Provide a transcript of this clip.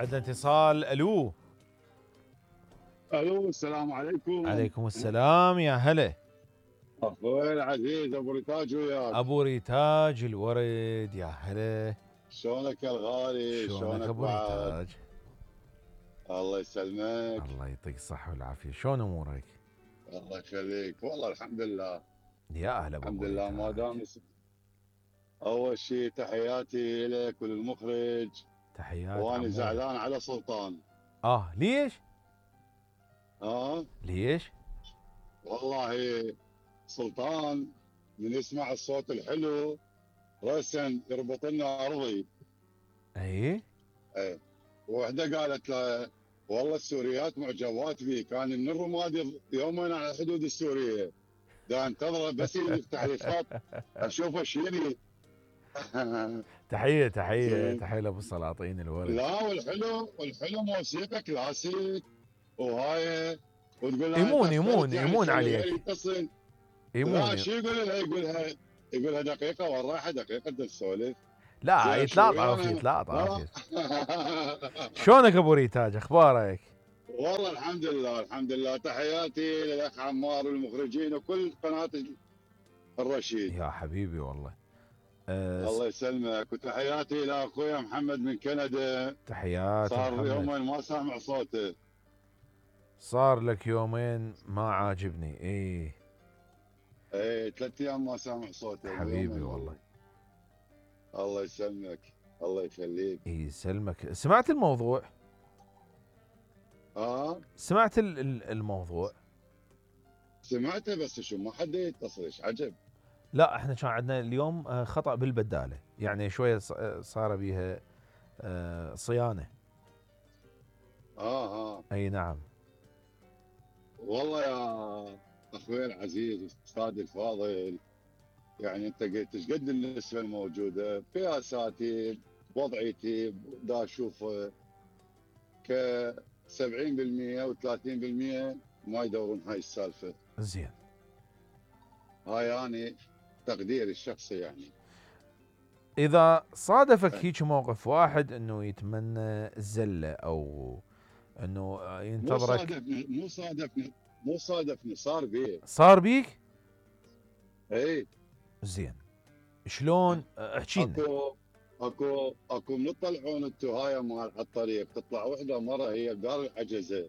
عندنا اتصال. الو. الو، السلام عليكم. عليكم السلام، يا هلا. اخوي العزيز ابو ريتاج وياك. ابو ريتاج الورد، يا هلا. شلونك يا الغالي؟ شلونك شلونك ابو بعد؟ ريتاج؟ الله يسلمك. الله يعطيك الصحة والعافية، شلون امورك؟ الله يخليك، والله الحمد لله. يا اهلا الحمد بابو لله ما ريتاج. دام اول شيء تحياتي لك وللمخرج. تحيات وانا عموري. زعلان على سلطان. ليش؟ اه ليش؟ والله سلطان من يسمع الصوت الحلو راسا يربط لنا ارضي. اي. ايه. وحده قالت له والله السوريات معجبات بيك، انا من الرمادي يومين على الحدود السوريه، دا انتظره بس يفتح لي خط اشوفه شيري. تحية تحية زين. تحية لابو السلاطين الورد. لا والحلو موسيقى كلاسيك وهاي، وتقول لها انت يمون اخترت يمون يعني يمون تخلي غيري عليك. يتصل. لا يمون. شو يقول لها؟ يقولها دقيقه والراحه دقيقه تسولف. لا، زين شو يتلاطف ويانا؟ يتلاطف. شلونك ابو ريتاج، اخبارك؟ والله الحمد لله الحمد لله. تحياتي للاخ عمار والمخرجين وكل قناه الرشيد. يا حبيبي والله. الله يسلمك. وتحياتي الى اخويا محمد من كندا. تحيات صار محمد. يومين ما سامع صوته. صار لك يومين ما عاجبني. ايه 3 ايام ما سامع صوته. حبيبي يومين والله. الله يسلمك. الله يخليك. يسلمك. سمعت الموضوع؟ سمعت الموضوع؟ سمعته بس شو ما حد يتصل. ايش عجب. لا، احنا كان عندنا اليوم خطأ بالبدالة، يعني شوية صار بيها صيانة. اي نعم. والله يا اخوي العزيز استاذي الفاضل، يعني انت قلت ايش قد النسبه الموجوده في اساتذتي وضعيتي دا اشوف ك 70% و30% ما يدورون هاي السالفه. زين. هاي يعني تقديري الشخصي يعني. اذا صادفك هيك موقف واحد انه يتمنى الزله او انه ينتظرك. مو صادفني صار بيك؟ اي. زين. شلون؟ احكي لنا. اكو من تطلعون انتو هاي مال الطريق تطلع وحده مره هي بدار العجزه